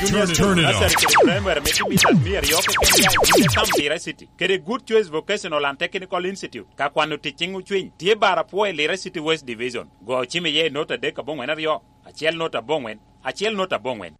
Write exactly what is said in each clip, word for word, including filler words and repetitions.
Junior Turn it on. Nursery kede primary me Timmy Sat mia aryo keken ya i Sam Lira City, kede Good Choice Vocational and Technical Institute. Ka kwano tic ciŋ ocwiny, tye bar apwo i Lira City West Division. Go cim iye i nota adek aboŋwen aryo, acel nota aboŋwen, acel nota aboŋwen.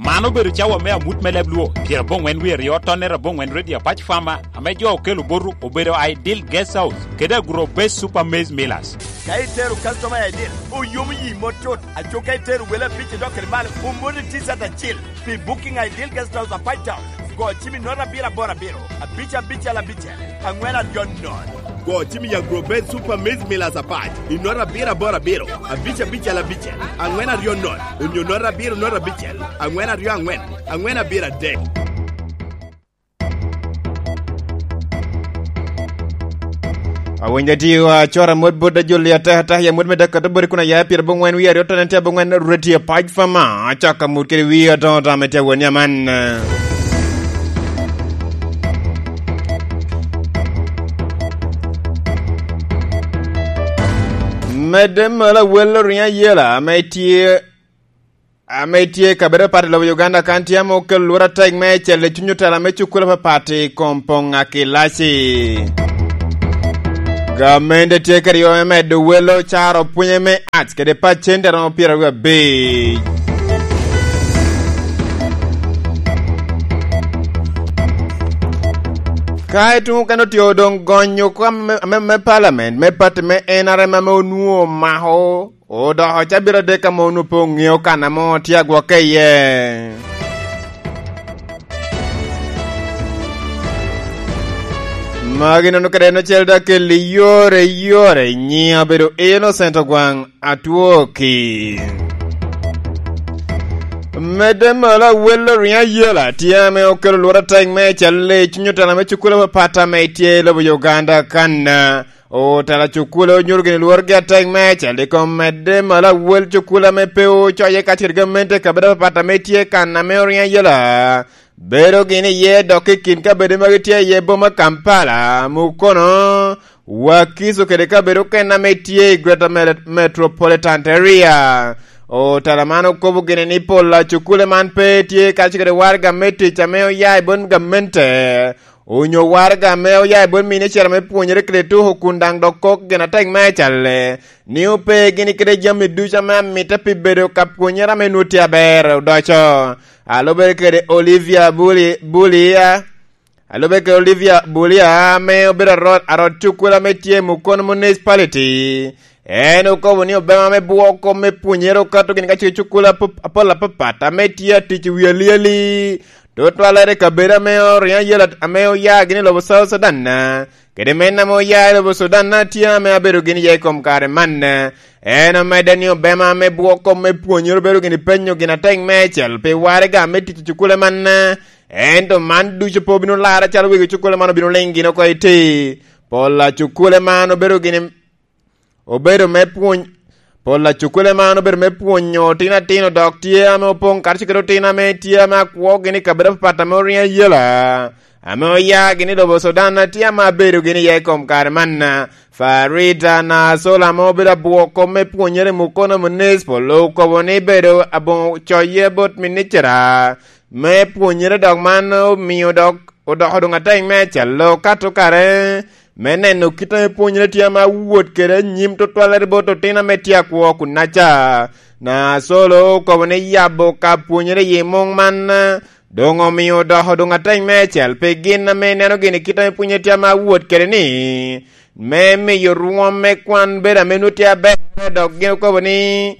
Man obedo cawa me amut me leb Luo, pyeraboŋwen wie aryo, tonnere aboŋwen Radio Apac Farmer, ame jo okelo botu obedo Ideal Guest House, kede Agro Base Super Maize Millers. Ka itero customer I D, oyomo yi mot tut. Aco ka itero wele abic idok kede malo, omoti T-shirt acil pi booking Ideal Guest House Apac Town. Go cim i note abiro aboro abiro, abic abicel abicel, aŋwen aryo nono. Go cim i Agro Base Super Maize Millers Apac i note abiro aboro abiro, abic abicel abicel, aŋwen aryo nono, onyo note abiro note abicel, aŋwen aryo aŋwen, aŋwen abiro adek. Awinyo ati wa cora mot bot ajoli atek atek ya mot me dek kato bori kun aya pire boŋwen wi aryo tone tye boŋwen Radio Apac Farmer, acaka mut kede wi adoŋo tame tye awoni aman. Medde malo awel oriŋo ayela ame tye ame tye i kabedo apat i lobo Uganda kan tye ame okelo lworo atek me cel i cuny otela me cukul apapat i kom poŋ akilaci. Gamente tye kede yo me medo welo caro pwonye me arts kede pacent aromo pyeraryo abic. Ka ituŋo kene otye doŋ gonyo kom me, me, me parliament me party me N R M ame onwoŋo omako odoko cabit adek ame onwoŋo pe oŋeo kan ame tye agwokke iye. Magi nono kede en ocel dok keli yore yore nyiŋ abedo Innocent Ogwaŋ Atwoki. Medde malo awel oriŋo ayela tye ame okelo lworo atek me cal i cuny otela me cukul apapat ame tye i lobo Uganda kan. Otela cukule onyuto gini lworgi atek me cal i kom medde malo awel cukule ame pe ocoye kacel gamente i kabedo apapat ame tye kan ame oriŋo ayela. Bedo gini iye dok i kin kabedo ma gitye iye boma Kampala, Mukono, Wakiso kede kabedo okene ame tye i Greater Mele-, Metropolitan Area. Otela man okobo gini ni pol a cukule man pe tye kacel kede waraga me tic ame oya i bot gamente. Onyo waraga ame oya i bot minicita me pwonyere kede tuko kun daŋ dok kok gin atek me calle, ni ope gini kede jami ducu ame amitte pi bedo ka pwonyere ame nwoŋo tye aber odoco. A lubere kede Olivia Buli-, Bulia, a lubere kede Olivia Bulia ame obedo arot, arot cukula ame tye i Mukono Municipality, en okobo ni obema me bwoko me pwonyere okato gini ka cukula apol apapat ame tye atic i wi alyeli. Tutwalere i kabedo ame oriŋo ayela ame oya gini i lobo South Sudan, kede men ame oya i lobo Sudan tye ame abedo gini iye i kom kare man. En omedde ni obema ame bwoko me pwonyere obedo gini penyo gin atek me cel pi waraga me tic i cukule man. Ento man ducu pe obino larre calo wegi cukule man obino liŋ gini oko i ti. Pol a cukule man obedo gini obedo me pwony, pol a cukule man obedo me pwonyo otino atino dok tye ame opoŋ karacel kede otino ame tye ame akwo gini i kabedo apapat ame oriŋo ayela, ame oya gini i lobo Sudan tye ame abedo gini iye i kom kare man. Farida Nasola ame obedo abwoko me pwonyere i Mukono Municipal okobo ni bedo aboŋo coye bot minicita me pwonyere dok man omio dok odoko doŋ atek me acalo kato kare me neno kit ame pwonyere tye ame awot kede anyim tutwalere bot otino ame tye akwo kunnaca. Nacolo okobo ni yabo ka pwonyere i muŋ man doŋ omio odoko doŋ atek me acel pi gin ame ineno gini kit ame pwonyere tye ame awot kede ni me miyo rwom me kwan bedo ame nwoŋo tye aber, dok gin okobo ni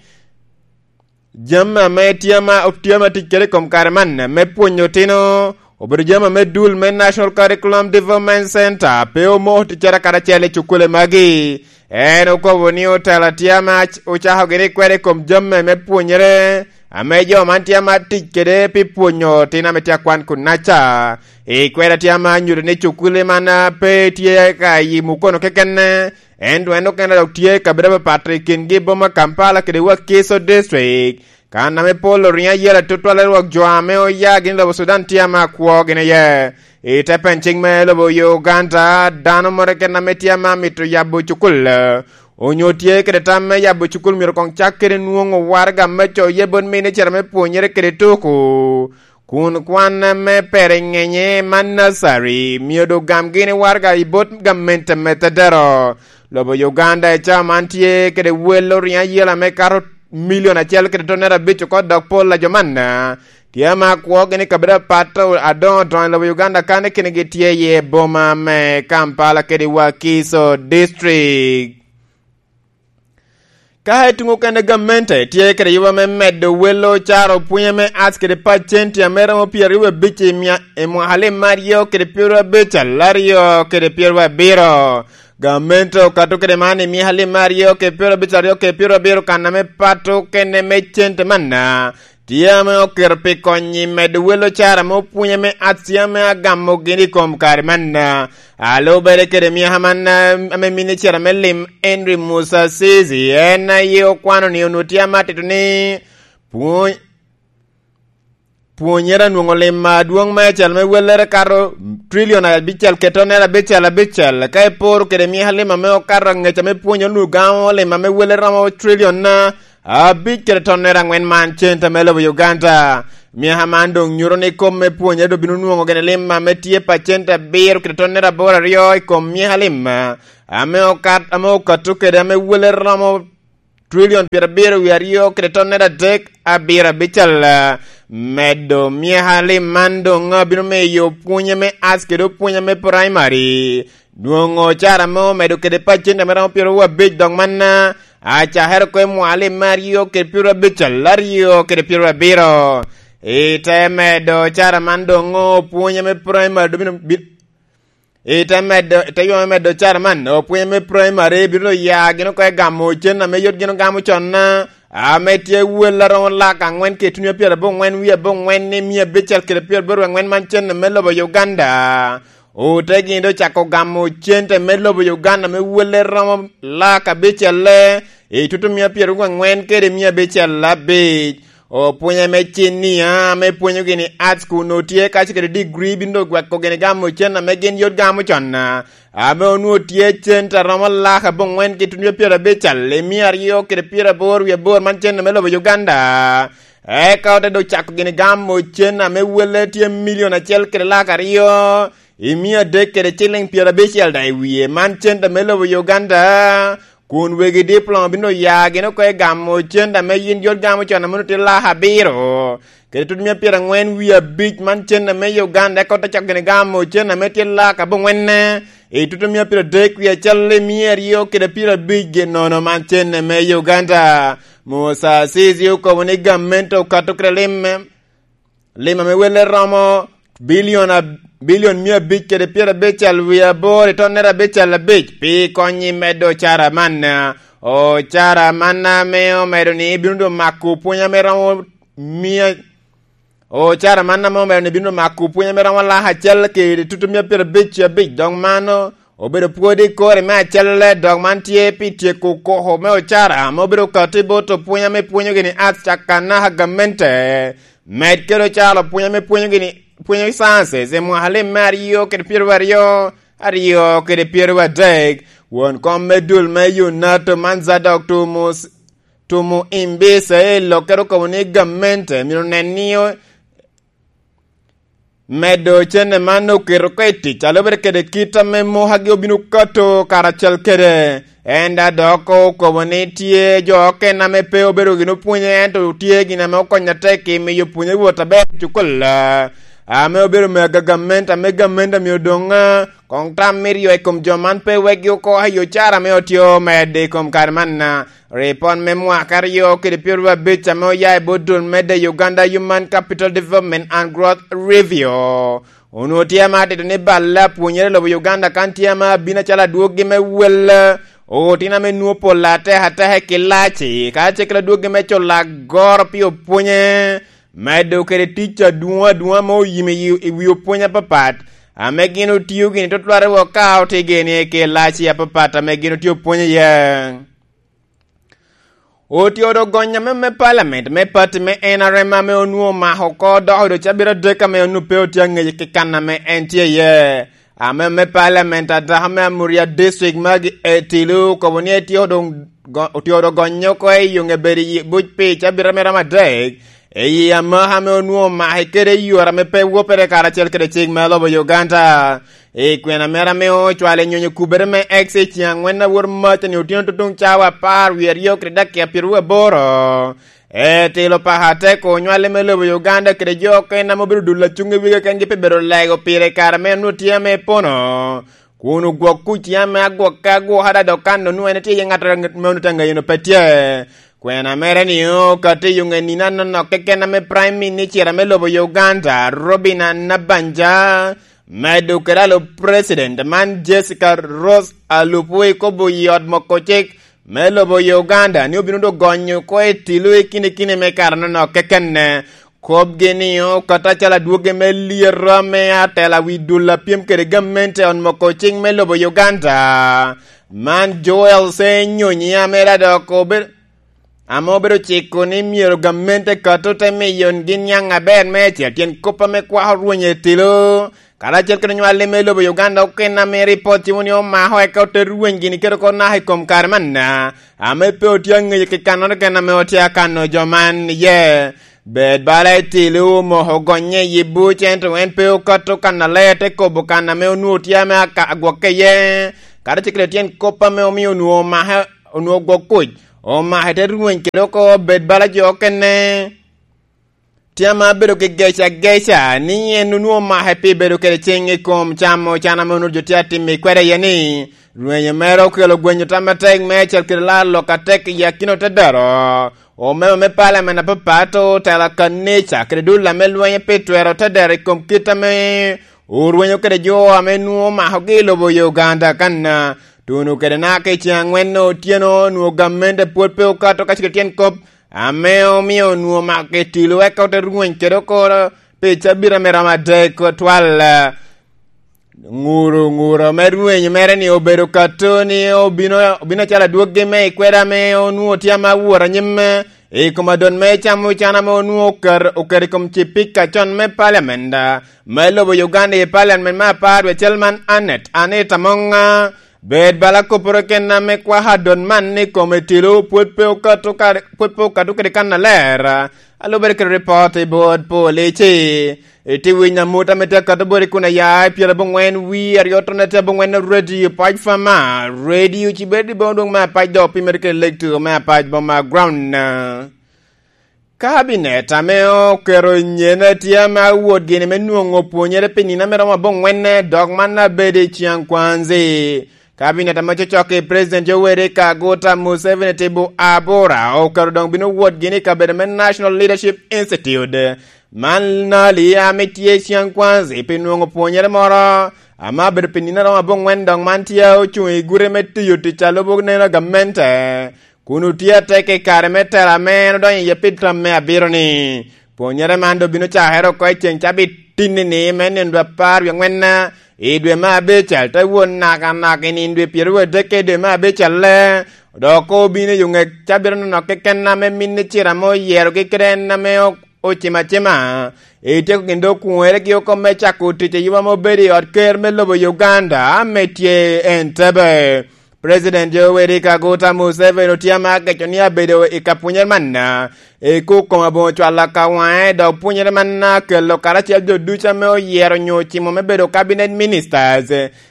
jami ame tye ama, tye ama tic kede i kom kare man me pwonyo otino obedo jami ame dul me National Curriculum Development Center pe omoko ticcere karacel i cukule magi. En okobo ni otela tye ama ac-, ocako gini kwede i kom jami me pwonyere ame jo man tye ama tic kede pi pwonyo otino ame tye akwan kunnaca. I kwede tye ama nyuto ni cukule man pe tye ka i Mukono keken, ento en okene dok tye i kabedo apapat i kingi boma Kampala kede Wakiso District, kan ame pol oriŋo ayela tutwal i rwok jo ame oya gini lobo Sudan tye ame akwo gini iye. I te pen cik me lobo Uganda, dano moro keken ame tye ame amito yabo cukul, onyo tye kede tam me yabo cukul myero koŋ cak kede nwoŋo waraga me coye bot minicita me pwonyere kede tuku, kun kwan me pereŋenye man nursery myero doŋ gamgi ni waraga i bot gamente me tedero. Lobo Uganda i cawa man tye kede wel oriŋo ayela me kato milion acel kede tonere abic oko, dok pol a jo manna tye ame akwogi ni kabedo apat adoŋo doŋo i lobo Uganda kan i kinigi tye iye boma me Kampala kede Wakiso District. Ka i tuŋ okene gamente tye kede yuba me medo welo caro pwonye me ac kede pacenti ame romo pyeraryo abic i mia i mwaka lim me aryo kede pyeraryo abic aryo kede pyeraryo abiro. Gamente okato kede man i mia lim me aryo kede pyeraryo abic aryo kede pyeraryo abiro kan ame pato kene me cente manna tye ame oketo pi konyi medo welo cara me opwony ame aci ame agamo gin i kom kare manna. Alubere kede miaka manna ame minicita me lim Henry Musa Sisi en aye okwano ni onwoŋo tye ame atito ni pwony pwonyere anwoŋo lim adwoŋ me acel me wellere kato trilion abicel kede tonere abicel abicel ka iporo kede miaka lim ame okato angec ame pwonyo onwoŋo gamo lim ame wellere romo trilion na abic kede tonere aŋwen man cente me lobo Uganda. Miaka man doŋ nyuto ni kom me pwonyere doŋ bino nwoŋo gene lim ame tye pa cente abiro kede tonere aboro aryo i kom miaka lim ame okat ame okato kede ame wellere romo trilion pyerabiro wie aryo kede tonere adek abiro abicel. Medo miaka lim man doŋ abino miyo pwonye me ac kede opwonye me praimari nwoŋo cara ame omedo kede pacent ame romo pyeraryo abic dok man acakere oko i mwaka lim me aryo kede pyeraryo abicel aryo kede pyeraryo abiro. I te medo cara man doŋ opwonye me praimari doŋ bino bi- i te medo i te yome medo cara man opwonye me praimari bino ya gin oko i gamo cen ame yot gin ogamo con ame tye wel aromo lak aŋwen kede tunia pyeraboro ŋwen wie aboro ŋwen ni mia abicel kede pyeraboro aŋwen man cen me lobo Uganda. Ote gin doŋ cako gamo cente me lobo Uganda me welle romo lak abicelle i tutumia pyeraryo aŋwen kede mia abicel abic. Opwonye me cinia ame pwonyogi ni arts kun otye kaco kede digri bino doŋ gweko gini gamo cen ame gin yot gamo con ame onwoŋo tye cente aromo lak aboŋwen ki tutumia pyerabicel i mia aryo kede pyeraboro wie aboro man cen ame lobo Uganda. Eka ote doŋ cako gini gamo cen ame welle tye milion acel kede lak aryo i mia adek kede ciliŋ pyerabicel daŋ i wie man cente me lobo Uganda kun wegi diploma bino ya gin oko i gamo cente ame yin yot gamo con ame tye lak abiro kede tut mia pyeraŋwen wie abic man cente me Uganda eka ote cako gini gamo cente ame tye lak aboŋwenne i tut mia pyeradek wie acel i mia aryo kede pyerabic gi nono man cente me Uganda. Musa Sisi okobo ni gamente okato kede lim lim ame welle romo bilion ab- bilion mia abic kede pyerabicel wie aboro i tonnere abicel abic pi konyi medo ocara man. Ocara man ame omedo ni bino doŋ mako pwony ame romo mia ocara man ame omedo ni bino doŋ mako pwony ame romo lak acel kede tutu mia pyerabic abic dok mano obedo pwod i kore me acelle dok man tye pi tyeko koko me ocara ame obedo kati bot opwony ame pwonyogi ni arts caka naka gamente med kede ocalo pwony ame pwonyogi ni pwonyo sciences i mwaka lim me aryo kede pyeraryo aryo kede pyeraryo adek. Won kom me dul me Yunato man Zadok Tumus Tumu Imbisa i lokkere okobo ni gamente myero nen ni medo cene man oketo oko i tic alubere kede kit ame mokagi obino kato karacel kede en da dok okobo ni tye jo okene ame pe obedo gin opwonye ento tye gin ame okonyo atek i miyo pwonye wot aber i cukul ame obedo me agagamente ame gamente myero doŋ koŋ tam me ryo i kom jo man pe wekgi oko ayo cara ame otye omedde i kom kare man. Ripot me mwaka aryo kede pyeraryo abic ame oya i bot dul medde Uganda Human Capital Development and Growth Review onwoŋo tye ame atito ni balle apwonyere i lobo Uganda kan tye ame abino acalo adwoggi me wel otino ame nwoŋo pol atek ateka i kilaci kacel kede adwoggi me culo agoro pi opwonye medo kede tic adwoŋ adwoŋ ame oyimo i wi opwony apapat ame gin otio gini tutwal i wok ka otye gini i kilaci apapat ame gin otye opwonyo iye. Otio dogonyo ame me palamen me pati me N R M ame onwoŋo omako oko dok odo cabit adek ame onwoŋo pe otye aŋec ki kan ame en tye iye. ame me paliament a dako me Amuria District, Maggie Etilu, okobo ni etye odoŋ go-, otye odoŋ gonyo oko i yoŋe bedo i buc pi cabit ame romo adek, i amaka ame onwoŋo omake kede i yore ame pe wopere karacel kede cik me lobo Uganda. I kwena mere ame ocwalo i nyonyo kubere me X i ceŋ aŋwen a wot mac ni otyeno tutuŋ cawa apar wie aryo kede dakika pyeraryo aboro, Etilo paka atek onywale me lobo Uganda kede jo okene ame obedo dul acuŋ i wigi kengi pi bedo lego pire i kare ame onwoŋo tye ame pono, kun ogwok kuc tye ame agwokke agwoka, dok kan onwoŋo en tye iye ŋat ame onwoŋo tye aŋeyo pe tye. Kwena mere ni okatiyo ŋe nino anonok keken ame Prime Minister ame lobo Uganda, Robina Nabanja, medo kede alup President man Jessica Rose Alupo, ikobo i ot moko cik me lobo Uganda ni obino doŋ gonyo oko Etilo i kine kine me kare anonok kekenne. Kopgi ni okato acalo adwogi me lyero me atela wi dul a pyem kede gamente ot moko cik me lobo Uganda, man Joel Senyonyi, ame dok obe-, ame obedo ciko ni myero gamente kato te miyo gin niaŋ aber meicel tyen kop ame kwako rweny Etilo, karacel kede onywale me lobo Uganda okene ame ripot timo ni omako eka ote rweny gini kede oko naka i kom kare manna, ame pe otye aŋeyo ki kannoro keken ame otye akano jo man iye. Bed bala Etilo omoko gonye i buc, ento en pe okato kannaler, te kobo kan ame onwoŋo tye ame aka-, agwokke iye, karacel kede tyen kop ame omio onwoŋo omake, onwoŋo gwok kuc, omake te rweny kede oko bed bala jo okene. Tye ame abedo ki gec ageca ni en onwoŋo omake pi bedo kede ciŋ i kom camo can ame onwoŋo jo tye atimo i kwede iye ni, rwenyo mere okelo gwenyo tam atek meicel kede laro lok atek i akina otedero, omemba me paliamen apapat, otela kanica kede dul ame lwenyo pi twero otedero i kom kit ame orwenyo kede jo ame nwoŋo omakogi i lobo Uganda kanna. Tuno kede naka i ceŋ aŋwen otyeno, onwoŋo gamente pwod pe okato ka cik i tyen kop, ame omio onwoŋo omako Etilo eka ote rweny kede oko pi cabit ame romo adek twal. Ŋuro, ŋuro me rweny mere ni obedo kato ni obino, obino acalo adwoggi me i kwede ame onwoŋo tye ame awot anyim i kom adot me camo can ame onwoŋo oker-, oketo i kom cipika con me paliament me lobo Uganda i paliament me apar wie acel man, Annet Anita Amonga. Bed bala kopporo kena me kwako adot man ni kome Etilo pwod pe okato kare, pwod pe okato kede kannaler. Alubere kede ripot i bot polici. Itye winyo amut ame tye akato boti kun aya i pyerabongwen wie aryo tone tye abongwen, Radio Pac Fama, Radio Cibedi boŋ dwoŋ me apac dok opimere kede lek tuko me apac boma ground. Kabinet ame oketo nyene tye ame awot gini me nwoŋo pwonyere pi nino ame romo abongwen, dok man abedo i Ciaŋ Kwanzi. Kabinet ame ococok i President Yoweri Kaguta Museveni tye bo abora oketo doŋ bino wot gini i kabedo me National Leadership Institute. Man nali ame tye i Ciaŋ Kwanzi pi nwoŋo pwonyere moro ame abedo pi nino romo abongwen, dok man tye ocuŋ i gure me tiyo tic a lubo neno a gamente. Kun otye atek i kare me tela ame en odonyo iye pi tam me abiro-ni. Pwonyere man doŋ bino cakere oko i ceŋ cabit tinni-ni me nino dwe apar wie aŋwen i dwe me abicel, te wot nakanak i nino dwe pyeraryo adek i dwe me abicel-le, dok obino i oŋe cabit anonok keken ame minne ciro ame oyerogi kede en ame o-, ocimo acima. Etyeko gin doŋ okwoŋeregi oko me cako tic i yuba ame obedo i ot ker me lobo Uganda ame tye Entebbe. President Yoweri Kaguta Museveni otye ame ageco ni abedo i ka pwonyere manna, i kuk kome aboŋo cwalo ka waŋe, dok pwonyere manna kelo karacel jo ducu ame oyero onyo ocimo me bedo cabinet ministers,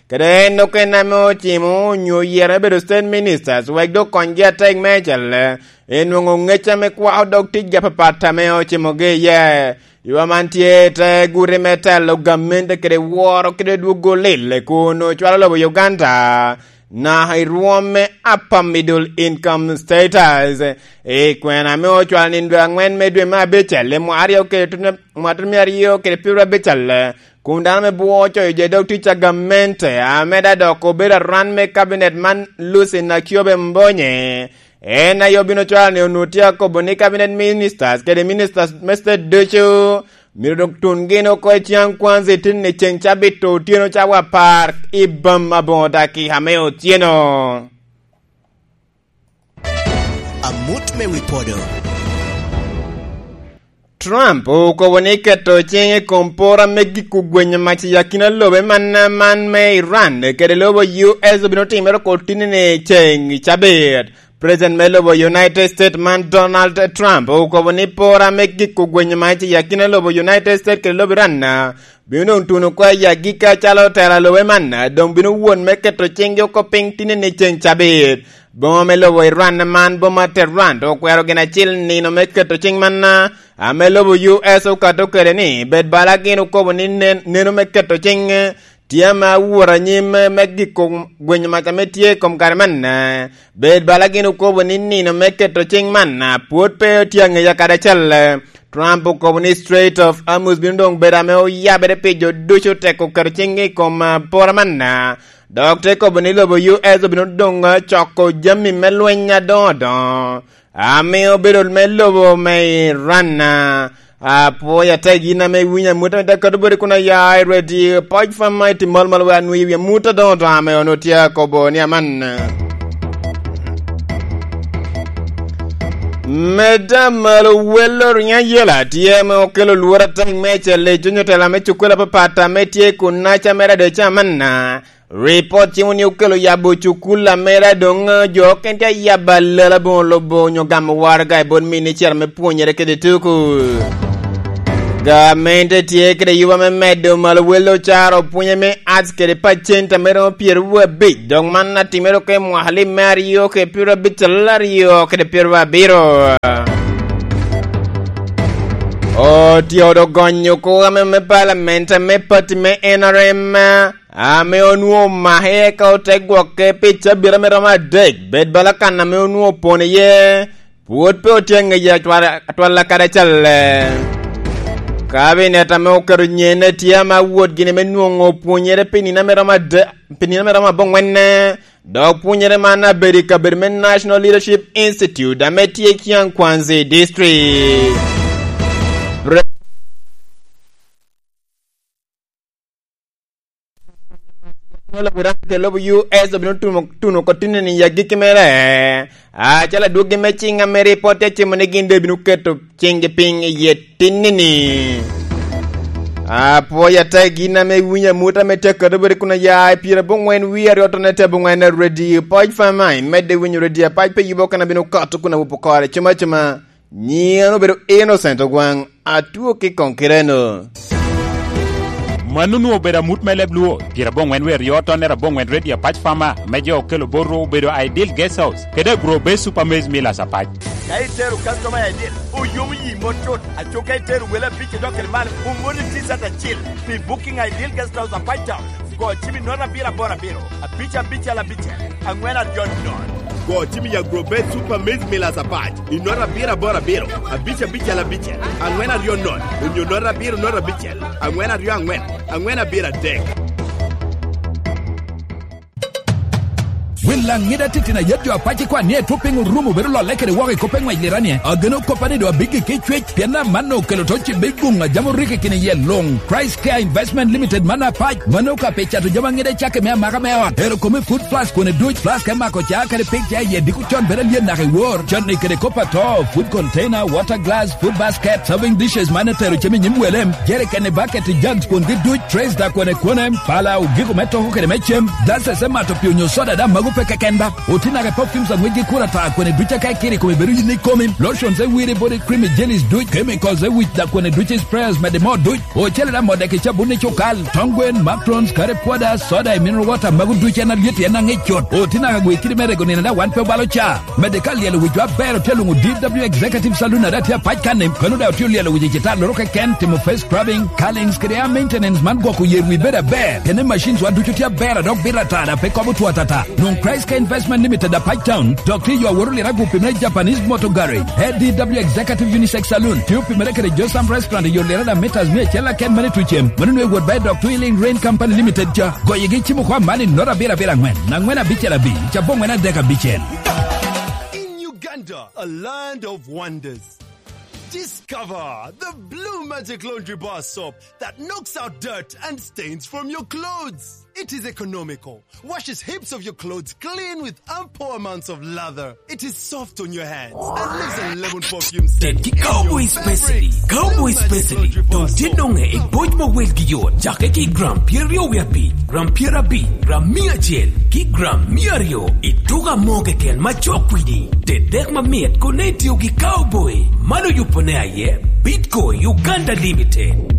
kede en okene ame ocimo onyo oyero me bedo state ministers, wek dok konygi atek meicel i nwoŋo ŋec ame kwako dog ticgi apapat ame ocimogi iye. Ywa man tye te gure me telo gamente kede woro kede dwogo lil kun ocwalo lobo Uganda naka i rwom me upper middle income status. I kwena ame ocwalo nino dwe aŋwen me dwe me abicel i mwaka aryo kede tut me, mwaka tut me aryo kede pyeraryo abicel, kun dano me bwo ocoyo jo i dog tic a gamente, ame da dok obedo aran me kabinet man, Lucy Nakiobe Mbonye, en aye obino cwalo ni onwoŋo tye akobo ni cabinet ministers kede ministers me state ducu myero dok tun gin oko i Ciaŋ Kwanzi tin i ceŋ cabit otyeno cawa apar i bam aboŋo dakika me otyeno. Amut me wi podo. Trump okobo ni keto ciŋ i kom pora me giko gwenyo mac i akina lobe man, man me Iran kede lobo U S obino timere oko tinni-ni ceŋ cabit. President me lobo United States man, Donald Trump, okobo ni pora me giko gwenyo mac i akina lobo United States kede lobo Iran bino doŋ tuno oko i agikki acalo tela lobe man doŋ bino wot me keto ciŋgi oko piny tinni-ni ceŋ cabit. Boma me lobo Iran man, boma Tehran, okwero gin acel nino me keto ciŋ man, ame lobo U S okato kede ni bed bala gin okobo ni nen-, neno me keto ciŋ tye ame awot anyim me giko gwenyo mac ame tye i kom kare man. Bed bala gin okobo ni nino me keto ciŋ man pwod pe tye aŋeca kadi acel. Trump okobo ni Strait of Hormuz bino doŋ bedo ame oyabere pi jo ducu teko keto ciŋgi i kom, ah, pora man, dok te kobo ni lobo U S obino doŋ, ah, coko jami me lweny adoŋo doŋo, ame obedo me lobo me Iran. Apwoyo ata gin ame iwinyo amut ame te kato boti kun aya i rwedi poj fam ma iti mal mal wa nwi wi amut adoŋo doŋo ame onwo tye akobo ni aman. Medda malo welo riŋo ayela tye ame okelo lworo ataŋ me acel i cuny otela me cukul apapat ame tye i kunaca mere adoco amanna. Ripot cimo ni okelo yabo cukul amera doŋ jo okene tye ayabo alala boŋo lobo onyo gamo waraga i bot minicita me pwonyere kede tuku. Gamente tye kede yuba me medo malo welo caro pwonye me arts kede pacent ame romo pyeraryo abic, dok man atimere oko i mwaka lim me aryo kede pyeraryo abic aryo kede pyeraryo abiro. Otye odo gonyo kwo ame me palament ame pati me N R M, ame onwoŋo omake eka ote gwokke pi cabit ame romo adek, bed bala kan ame onwoŋo opon iye, pwod pe otye aŋeca atwal-, atwal akadi acalle. Kabinet ame oketo nyenne tye ame awot gini me nwoŋo pwonyere pi nino ame romo ade-, pi nino ame romo aboŋwenne, dok pwonyere man abedo i kabedo me National Leadership Institute ame tye i Kyang Kwanzi District. Pre- Ŋolo Iran kede lobo U S obino tuno, tuno oko tinni-ni i agikki mere. Acalo adwoggi me ciŋ ame ripot tye cimo ni gin doŋ ebino keto ciŋgi piny i yie tinni-ni. Apwoyo ata i gin ame iwinyo amut ame tye akato boti kun aya i pyeraboŋwen wie aryo tone te aboŋwen redi poj fama, imedde winyo redi apac pe yubo kan abino kato kun awubo kore cuma cuma. Nyiŋa obedo Innocent Ogwaŋ, atwo ki koŋ kireno. Mano onwoŋo obedo amut me leb Luo, pyeraboŋwen wie aryo tonnere aboŋwen redi apac fama, me jo okelo bot ru obedo Ideal Guest House, kede Agro Base Super Maize Millers apac. Ka itero customer Ideal, oyomo yi mot cut, aco ka itero wele abic idok kede malo, omoni T-shirt acil pi booking Ideal Guest House apac town. Go cim i note abiro aboro abiro, abic abicel abicel, aŋwen aryo nono. Go cim i Agrobet Super Maize Millers apac i note abiro aboro abiro, abic abicel abicel, aŋwen aryo nono, onyo note abiro note abicel, aŋwen aryo aŋwen, aŋwen abiro adek. Wel Laŋida titino ayet jo apac ikwan ni etwo piny orumo bedo lolle kede woko i kop eŋwec liranie. Ageno koppa ni doŋ abiggi ki cwec, pien amanno okelo to cibbe i guŋ a jam orikki kine iye luŋ. Christ Care Investment Limited man apac, mano ka pi cato jami aŋida i cakki me amaka me ot. Ero kome food flask kone duc, flask me mako ca kadi pig ca iye diko con bedo alyet naka i wor. Canni kede kop ato, food container, water glass, food basket, serving dishes man etero cem i nyim wele, jerikeni, bucket, jugs kwongi duc, trays da kone kone, pala, ogiko me toko kede me cem, glasses me mato pi onyo soda da mago pe keken ba. Oti naka perfumes aŋwec gi kura ta kone duc aka ikiri kome bedo yin ikomi, lotions e wiri body cream, jellies duc, chemicals e wic da kone duc, sprayers mede mo duc. Ocele da modde ki cabun i cukal, tong gwen, macrons, curry powder, soda i mineral water, mago duc en alyet en aŋic cut. Oti naka gwe kidi me rego nino da wan pe obalo ca. Mede ka lyelo wic wa ber otye luŋo D W Executive Saloon ada tye apac kanni, kano da otye lyelo wic i citar loro keken, timo face scrubbing, curlings kede hair maintenance man gwoko yer wi bedo aber. Kene machines wa ducu tye aber adok bit atara pe kobo two atata. Nwoŋ Christ Care Investment Limited apac town, dok tye yo aworo lira gupi me Japanese Motor Garage, A D W Executive Unisex Saloon, tye opimere kede Josam Restaurant i yo lira da meters mia acel aken mane tucem, mano nwe wot ba i dok Twilling Rain Company Limited ca. Goyigi cimo kwa man i note abiro abiro aŋwen, aŋwen abicel abic, cabo aŋwen adek abicel. In Uganda, a land of wonders. Discover the blue Magic Laundry Bar Soap that knocks out dirt and stains from your clothes. It is economical, washes heaps of your clothes clean with ample amounts of lather. It is soft on your hands and leaves a lemon perfume scent. Tet ki Cowboy Specialty. Cowboy Specialty doŋ tye noŋe i boc ma welgi yot, cake ki gram pyeraryo wie abic, gram pyerabic, gram mia acel, ki gram mia aryo i tuko amo keken ma cok kwidi. Tet dek mamit kono itio ki Cowboy. Man oyubo ne aye Bitco Uganda Limited.